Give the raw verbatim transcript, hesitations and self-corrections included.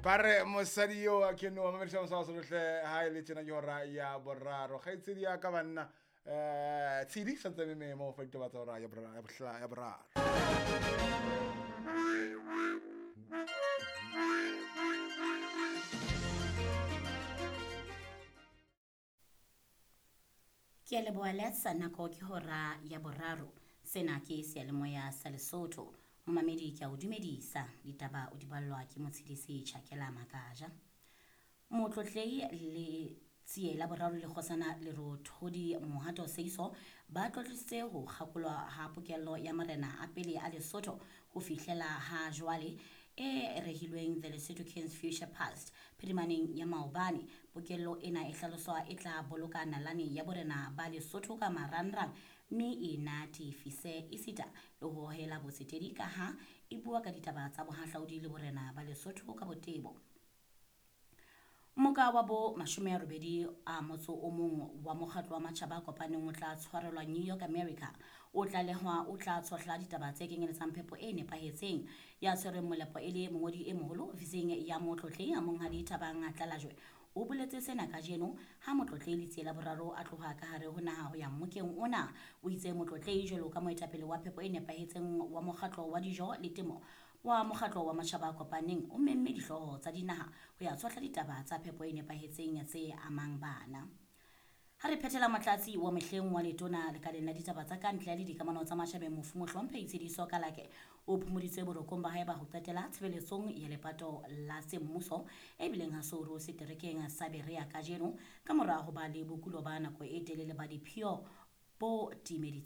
Ba re mosadi yo a ke no mamediša mosadi lohle ha e le tjena ke hora ya boraro. Kgaitsedi ya ka banna eh tshedi santse me mo fa ditaba tsa hora ya boraro ya bohla ya boraro. Ke a leboha Letsa, nako ke hora ya boraro. Sena ke seyalemoya sa Lesotho. Momamedi ke a o dumedisa. Ditaba o di ballwa ke Motshedisi Tjhakela Makaja. Motlotlei le Tsie la boraro le kgosana Lerothodi Mohato Seiso ba tlotlisitse ho kgakolwa ha pokello ya marena a pele a Lesotho ho fihlela ha jwale e rehilweng The Lesotho Kings Future Past phirimaneng ya maobane. Pokello ena e hlaloswa e tla boloka nalane ya borena ba Lesotho ka marangrang mme e natefise esita le ho hohela botsetedi ka ha e bua ka ditaba tsa bohahlaudi le borena ba Lesotho ka botebo. Moka wa bo mashome a robedi a motso o mong wa mokgatlo wa matjhaba a kopaneng o tla tshwarelwa New York, America. O tlalehwa o tla tshohla ditaba tse kenyeletsang phepo e nepahetseng. Ya tshwereng molepo e le mongodi e moholo ofising ya motlotlei Monghadi Thabang Tlalajwe o boletse sena kajeno ha motlotlei Letsie la boraro a tloha ka hare ho naha ho ya mmokeng ona. O itse motlotlei jwalo ka moetapele wa phepo e nepahetseng wa mokgatlo wa dijo le temo wa mokgatlo wa matjhaba a kopaneng o memme dihlooho tsa dinaha ho ya tshohla ditaba tsa phepo e nepahetseng tse amang bana. Ha re phethela motlatsi wa mehleng wa letona lekaleng la ditaba tsa kantle le dikamano tsa matjhabeng mofu Mohlomphehi Tshediso Kalake o phomoditswe borokong ba hae ba ho qetela tshebeletsong ya lepato la semmuso e bileng ha Souru seterekeng sa Berea kajeno ka mora ho ba le bokulo ba nako e telele ba diphio bo timeditseng.